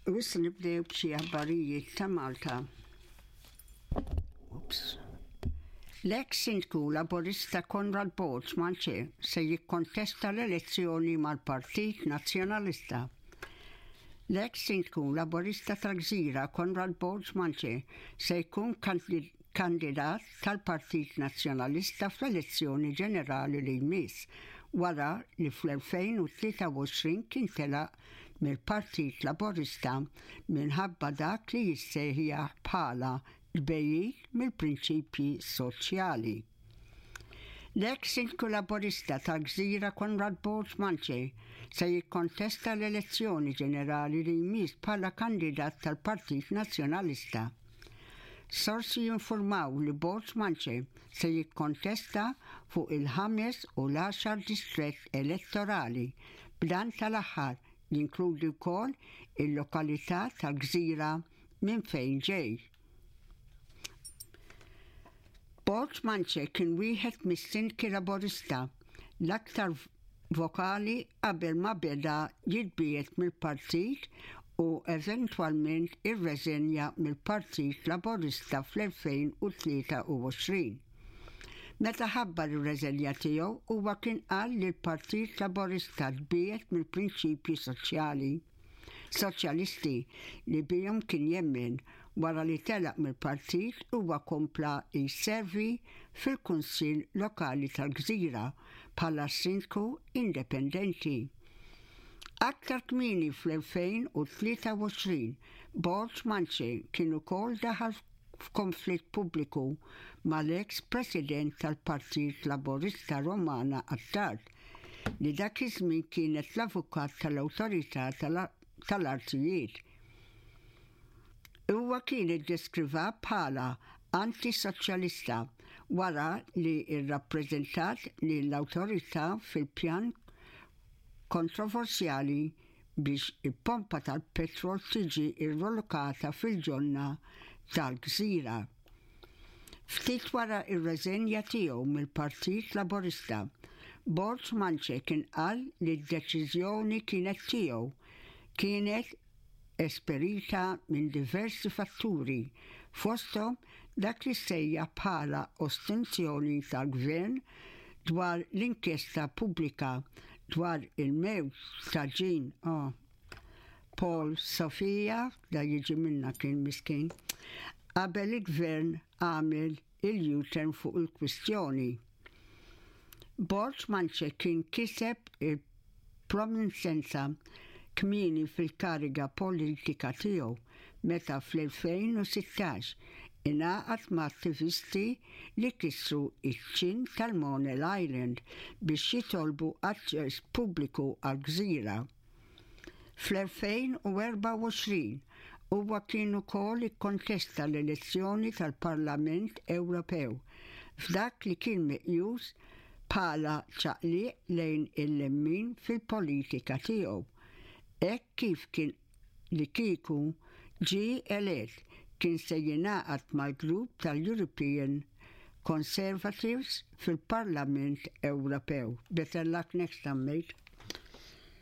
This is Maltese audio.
U issa nibdew b'xi aħbarijiet ta' Malta. Ups. L-eks Sindku Laburista Konrad Borg Manche se jikkontesta l-elezzjoni mal-Partit Nazzjonalista. L-eks Sindku Laburista tal-Gżira Konrad Borg Manche se jkun kandidat tal-Partit Nazzjonalista fl-elezzjoni ġenerali li jmiss wara li fl-2023 kien telaq mill-Partit Laburista minħabba dak li jissejjaħ bħala tbegħid mill-prinċipji soċjali. L-eks Sindku Laburista tal-Gżira Konrad Borg Manche se jikkontesta l-elezzjoni ġenerali li jmiss bħala kandidat tal-Partit Nazzjonalista. Sorsi jinfurmaw li Borg Manche se jikkontesta fuq il-ħames u l-għaxar distrett elettorali, b'dan tal-aħħar jinkludi wkoll il-lokalità tal-Gżira minn fejn ġej. Borg Manche kien wieħed mis-sindki Laburista l-aktar vokali qabel ma beda jitbiegħed mill-partit u eventwalment irreżenja mill-Partit Laburista fl-2023. Meta ħabbar ir-reżenja tiegħu huwa kien qal li l-Partit Laburista tbiegħed mill-prinċipji soċjali. Soċjalisti li bihom kien jemmen. Wara li telaq mill-partit huwa kompla jservi fil-Kunsill Lokali tal-Gżira bħala Sindku indipendenti. Aktar kmieni fl-2023, Borg Manche kien ukoll daħal f'konflitt pubbliku mal-eks President tal-Partit Laburista Romana Attard, li dak iż-żmien kienet l-avukat tal-Awtorità tal-Artijiet. Huwa kien iddeskriva bħala anti-soċjalista wara li rrappreżentat lill-awtorità fil-pjan kontroversjali biex il-pompa tal-petrol tiġi rrolokata fil-ġonna tal-gżira. Ftit wara r-reżenja tiegħu mill-Partit Laburista, Borg Manche kien qal li d-deċiżjoni kienet tiegħu kienet esperita minn diversi fatturi, fosthom dak li ssejjaħ bħala ostrunzjoni tal-Gvern dwar l-inkjesta pubblika dwar il-mewt ta' Jean Paul Sofia, da jiġi minnha kien miskin, qabel il-Gvern għamel il-U-turn fuq il-kwistjoni. Borg Manche kien kiseb il-prominenza kmieni fil-kariga politika tiegħu meta fl-2016 ingħaqad ma' attivisti li kissru ċ-ċint tal-Monel Island biex jitolbu aċċess pubbliku għall-gżira. Fl-2024 huwa kien ukoll ikkontesta l-elezzjoni tal-Parlament Ewropew f'dak li kien meqjus bħala ċaqliq lejn il-lemmin fil-politika tiegħu hekk kif kien li kieku ġie elett kien se jingħaqad mal-grupp tal-European Conservatives fil-Parlament Ewropew. Better luck next time mate.